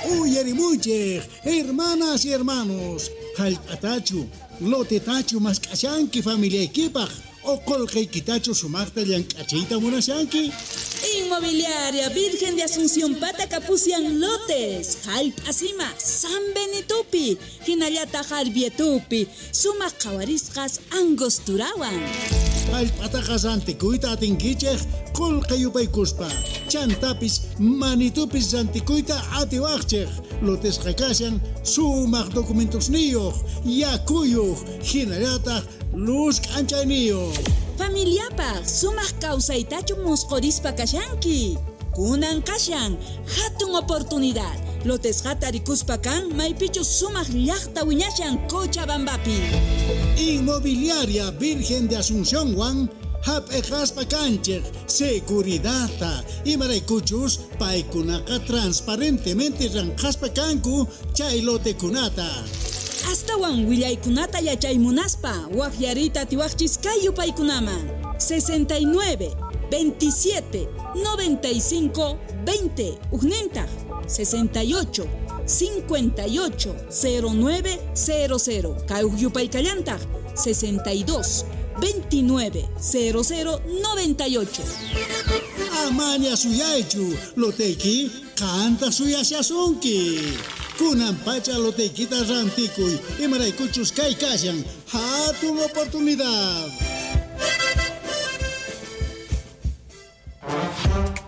Uyarimuychik, hermanas y hermanos, hallp'atachu, lotetachu mask'ashanki familiaykipaq o qullqiykitachu sumaqta llank'achiyta munashanki? Inmobiliaria Virgen de Asunción pata kapusian lotes, hallp'asima, San Benitopi, hinallataq Arbietupi, sumaq qhawarisqas Angosturawan. Hallp'ataqa rantikuyta atinkichik qullqi yupaykuspa, chantapis manitupis rantikuyta atiwaqchik. Lotesqa kashan sumaq documentosniyuq, yakuyuq, hinallataq luz k'anchayniyuq. Familiapaq sumaq kawsaytachu musqhurispa kashanki. Kunan kashan hatun oportunidad. Lotesqata rikuspa kan maypichu sumaq llaqta wiñashan Cochabambapi. Inmobiliaria Virgen de Asunción wan hap'iqaspa kanchik seguridadta imaraykuchus paykunaqa transparentemente ranqaspa kanku chay lotekunata. Astawan willaykunata yachay munaspa waqyariyta atiwaqchis kay yupaykunaman 69 27 95 20 ujnintaq 68 58 09 00 kay uj yupaykallantaq 62 29 00 98. Amaña suyaychu, loteyki qanta suyashasunki. Kunan pacha loteykita rantikuy, imaraykuchus kay kashan hatun oportunidad.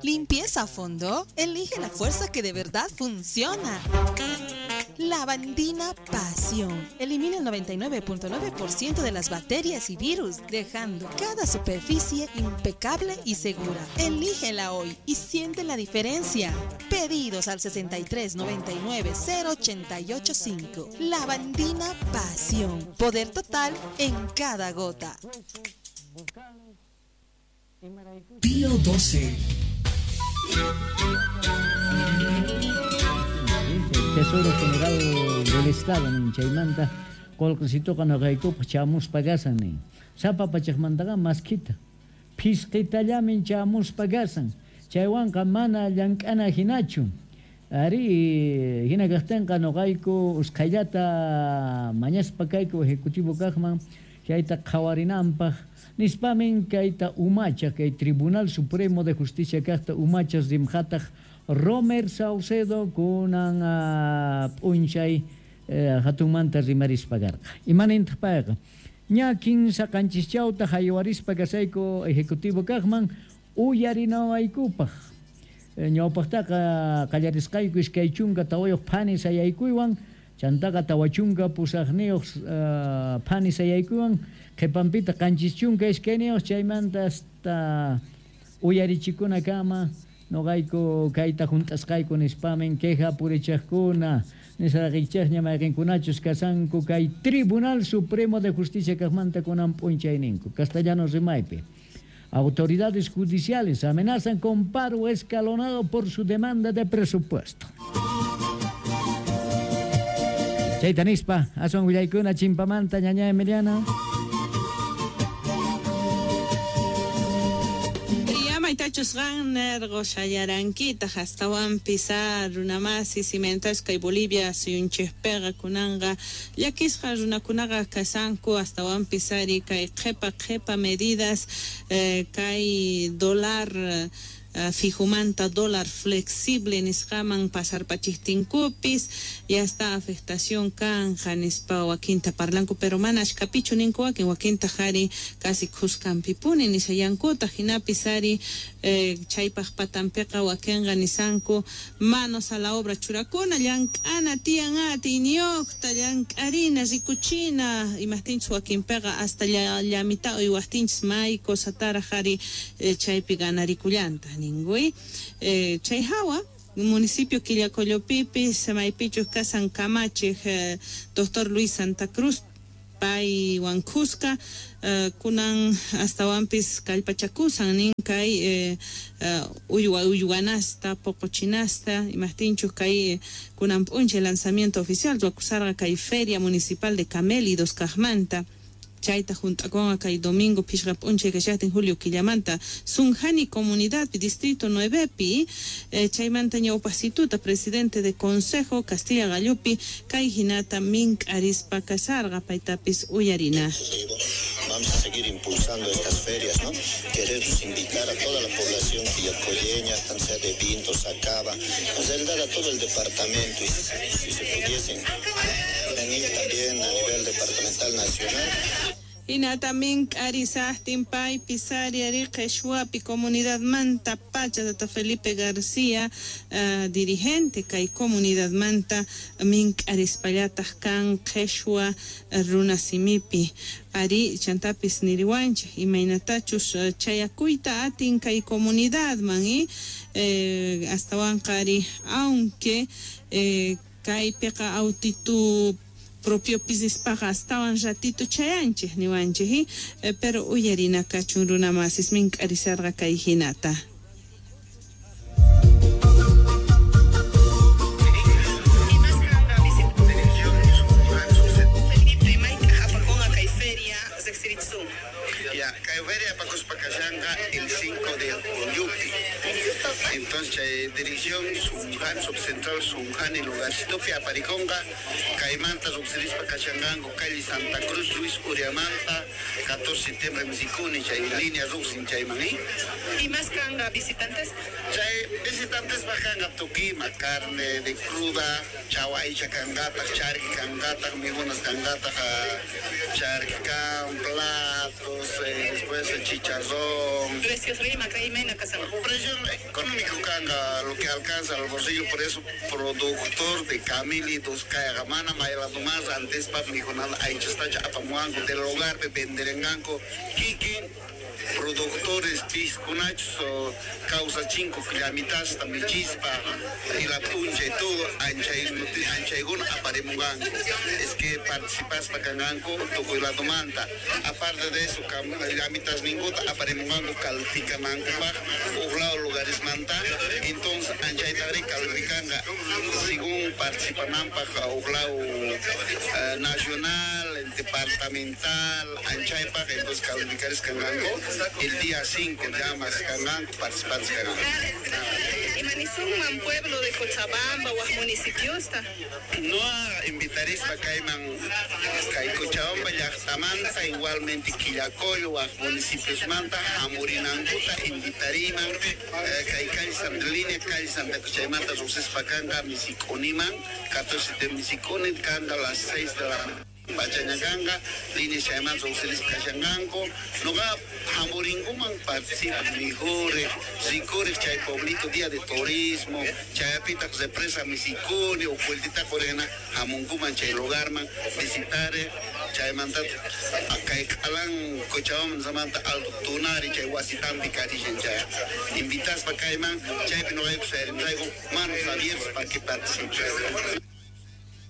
Limpieza a fondo. Elige la fuerza que de verdad funciona. Lavandina Pasión. Elimina el 99.9% de las bacterias y virus, dejando cada superficie impecable y segura. Elígela hoy y siente la diferencia. Pedidos al 63 99 088 5. Lavandina Pasión. Poder total en cada gota. Pío 12. Tesoro General del Estado nin chaymanta qullqisituqa nuqaykupaq chamuspa kasan nin. Sapa pachaqmantaqa maskhita phisqitallamin chamuspa kasan chaywanqa mana llank'ana hinachu. Ari hina kaqtinqa nuqayku usqhayllata mañaspa kayku ejecutivo kaqman chayta qhawarinanpaq nispamin kayta umacha kay Tribunal Supremo de Justicia kaqta umachas rimqataq Romer Saucedo kunan p'unchay hatunmanta rimarispa karqa. Imanintaq payqa? Ña kinsa qanchischawta haywarispa kasayku ejecutivo kaqman uyarinawaykupaq. Ñawpaqtaqa qallarisqayku iskay chunka tawayuq phani sayaykuywan, chantaqa tawa chunka pusaqniyuq phani sayaykuywan, qhipanpita qanchis chunka iskayniyuq chaymanta hasta uyarichikunakama nuqayku kayta hunt'asqayku nispamin queja purichaqkuna nisaraqichaqña mayqinkunachus kasanku kay Tribunal Supremo de Justicia kaqmanta kunan p'unchayninku castellano rimaypi. Autoridades judiciales amenazan con paro escalonado por su demanda de presupuesto. Chayta nispa, aswan willaykuna chimpamanta ñaña Emiliana. Maytachus qan nerqo shayarankitaq astawanpis runamasi cimentasqa kay Bolivia suyunchikpiqa kunanqa llakisqa runakunaqa kasanku astawanpis ari kay qhipa qhipa medidas kay dólar fijumanta dólar flexible nisqaman pasarpachiqtinkupis ya está afectación kanja nispa wakinta parlanku pero mana ashkapichu ninku wakin wakinta qhari casi khuskanpipuni nishayankuta hinapis ari chaypaq patanpiqa wakinqa nisanku manos a la obra churakuna llank'ana tiyan atiyniyuqta llank'arina rikuchina imaqtinchus wakinpiqa hasta llamita uywaqtinchis may cosataraq ari chaypi ganarikullanta ningui chay hawa municipio Quillacollopipis maypichus kasan kamachiq doctor Luis Santa Cruz pay wankusqa kunan astawanpis kallpachakusan nin kay uywa uywanasta poqochinasta imaqtinchus kay kunan p'unchay lanzamiento oficial ruwakusarqa kay feria municipal de camélidos kaqmanta. Chayta hunt'akunqa kay domingo phishqa p'unchay kashaqtin julio killamanta Sunjani comunidadpi distrito 9pi chaymanta ñawpaqsituta presidente de consejo Castilla Gallupi kay hinata mink'arispa kasharqa paytapis uyarina. Vamos a seguir impulsando estas ferias, ¿no? Queremos invitar a toda la población quillacolleña, tanto sea de Vinto, Sacaba, en realidad a todo el departamento, y si se pudiesen venir también a nivel departamental nacional. Hinata mink'arisaqtin paypi sariari qheshwapi comunidad manta pacha tata Felipe García dirigente kay comunidad manta mink'arispallataq kan qheshwa runasimipi ari chantapis niriwanchik imaynatachus chayakuyta atin kay comunidadman astawanqa ari aunque kaypiqa autitu propio pisispaqa astawan ratito chayanchik niwanchik pero uyarina kachun runa masis mink'arisarqa kay hinata. Ya, kay feria apakuspakashanqa el 5 de julio. Entonces, dirección Sunjan, subcentral Sunjan y lugarcito Apariconga, Caimanta, Subcerispa, Cachangango, calle Santa Cruz, Luis Uriamanta, 14 de septiembre, Misicuni, chay línea Ruxin, Chaymaní. ¿Y más canga visitantes? Chay visitantes bajanga tuquima, carne de cruda, chahuaycha cangata, charqui cangata, migunas cangata, charqui, platos, después chicharrón. Precios rima, caimena, casama. Precio económico canga, lo que alcanza al bolsillo, por eso productor de camelitos, cayagamana, maylatumás, antes pap, mijonada, aichastacha, apamuango, del hogar, venderenganco, kikin, productores pisconachos, causa cinco, clamitas, tamichispa, y la puncha y todo, anchaiguna, aparemunganco. Es que participas pa canganco, toco y la tomanta. Aparte de eso, clamitas ninguna, aparemunganco, calificananco, oblado lugares manta, entonces anchaitagri calificanga, según participanampa, oblado nacional, departamental, anchaypa, entonces calificares canganco. El día 5 llamas canganco, participantes canganco. ¿Y Manizunman, pueblo de Cochabamba o municipios? No invitaréis para Cayman, Cochabamba, Llaqtamanta, igualmente Quillacollo, municipios Manta, Amurinanguta, invitariman, calle Santa Línea, calle Santa Cochaymanta, Ruxespacanga, Misiconiman, 14 de Misiconi, canga a las 6 de la Pachañaganga, línea Chayman, Ruxelis Cachanganco, Noga, Jamuringuman participa, Mijure, Zicure, Chay Pueblito, Día de Turismo, Chayapita, Represa, Misicuni, Ocueltita, Corena, Jamunguman, Chay Lugarman, visitare, Chaymanta, Acaycalan, Cochabamba, Samanta, Alto Tunari, Chay Huasitambi, Carillen, Chay. Invitas pa Cayman, Chay Pinoy, traigo manos abiertas para que participen.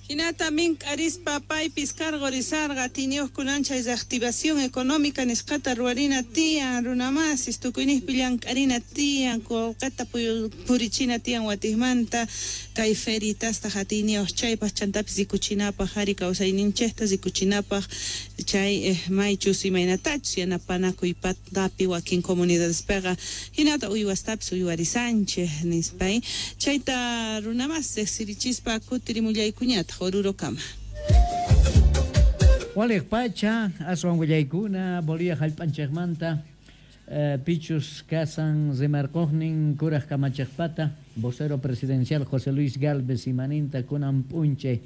Hinata mink'arispa paypis cargorizarqa tiniuqkunan chay reactivación económica nisqata ruwarina tiyan runamasis tukuyniqpi llank'arina tiyan qullqita purichina tiyan watiqmanta kay feritasta hatiniuq chaypaq chantapis rikuchinapaq ari kawsayninchikta rikuchinapaq chay maychus imaynatachus yanapanakuy patapi wakin comunidadespiqa hinata uywastapis uywarisanchik nispay chayta runamas riqsirichispa kutirimullaykuñataq Orurokama. Waliq pacha, aswan willaykuna, Bolivia hallp'anchikmanta, pichus kasan rimarquqnin kuraq kamachiqpata, vocero presidencial José Luis Gálvez imaninta kunan p'unchay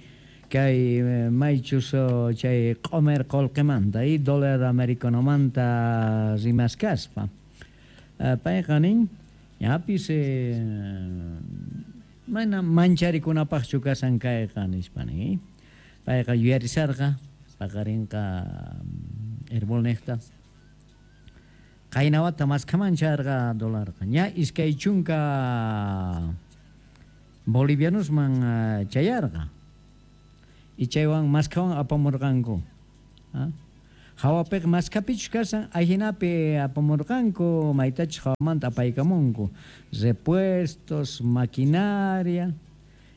kay maychus chay q'umer qullqimanta y dólar americanomanta rimaskaspa. Payqa nin, ñapis mana mancharikunapaqchu kasan kayqa nispa nin. Payqa yuyarisarqa, paqarinqa herbolniqta. Qaynawata maskamancharqa dólarqa. Ña iskay chunka bolivianosman chayarqa. Y chaywan maskawan apamurqanku. Hawapiq maskapichus kasan, ahinapi apamurqanku, maytachus hawamanta apaykamunku. Repuestos, maquinaria.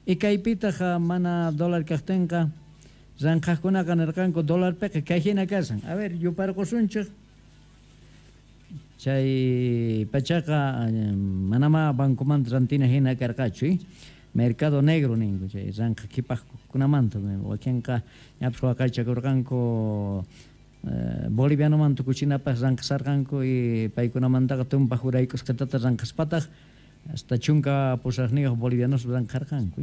Y kaypitaq mana dólar kaqtinqa, Ranqhaqkunaqa nirqanku dolarpiqa kay hina kashan. A ver, yuparqusunchik. Chay pachaqa manamá bancomanta rantina hina karqachu, mercado negro ninku chay ranqa qhipaqkunamanta wakinqa ñapis waqaychakurqanku bolivianoman tukuchinapaq ranqasarqanku y paykunamantaqa tumpaq uraykusqatata ranqaspataq hasta 18 bolivianos ranqarqanku.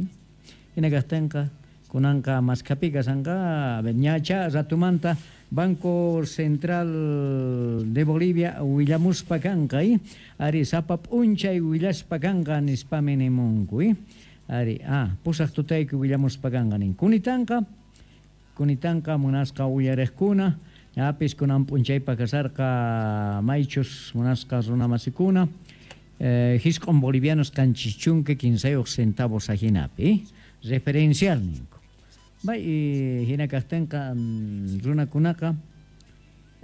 Hina kaqtinqa kunanqa maskhapi kashanqa ñacha ratumanta Banco Central de Bolivia willamuspa kanqa, ari sapa p'unchay willaspa kanqa nispami nimunku, ari pusaq tutayki willamuspa kanqa nin. Kunitanqa munasqa uyariqkuna, ñapis kunan p'unchaypa kasarqa maychus munasqa runamasikuna, 9 bolivianos 73 centavos ajinapi, referencial ninku. Bay hina kaqtinqa runakunaqa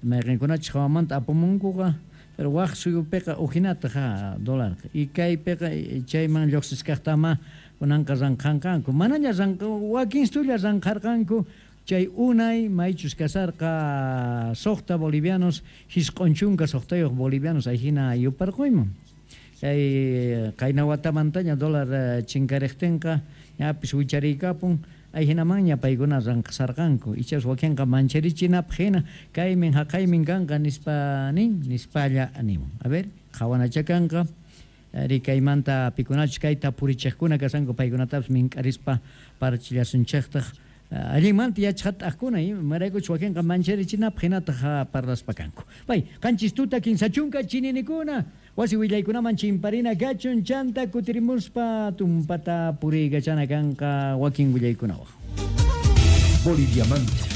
mayqinkunachus hawamanta apamunkuqa, pero waq suyupiqa ujinataq dólarqa y kaypiqa chayman lluqsiskaqtama kunanqa ranqanqanku, manaña wakin stulla ranqarqanku chay unay maychus kasarqa 6 bolivianos 96 bolivianos ahina yuparquyman. Chay qayna watamantaña dólar chinkariqtinqa ñapis wicharikapun. Ahinamanña paykuna ranqasarqanku, ichas wakinqa mancharichinapaq hina kaymin haqaymin kanqa nispa nin, nispalla nimun. A ver, qhawanacha kanqa, ari kaymanta pikunachus kayta purichiqkuna kashanku paykunatapis mink'arispa parachillasunchiqtaq allinmanta yachaqat'aqkuna, imaraykuchus wakinqa mancharichinapaq hinataq parlaspa kanku. Pay, 7 tuta 30 chininikuna, wasi willaykunaman chimparina kachun chanta kutirimuspa tumpata puriykachana kanqa wakin willaykunawaq. Boliviamanta.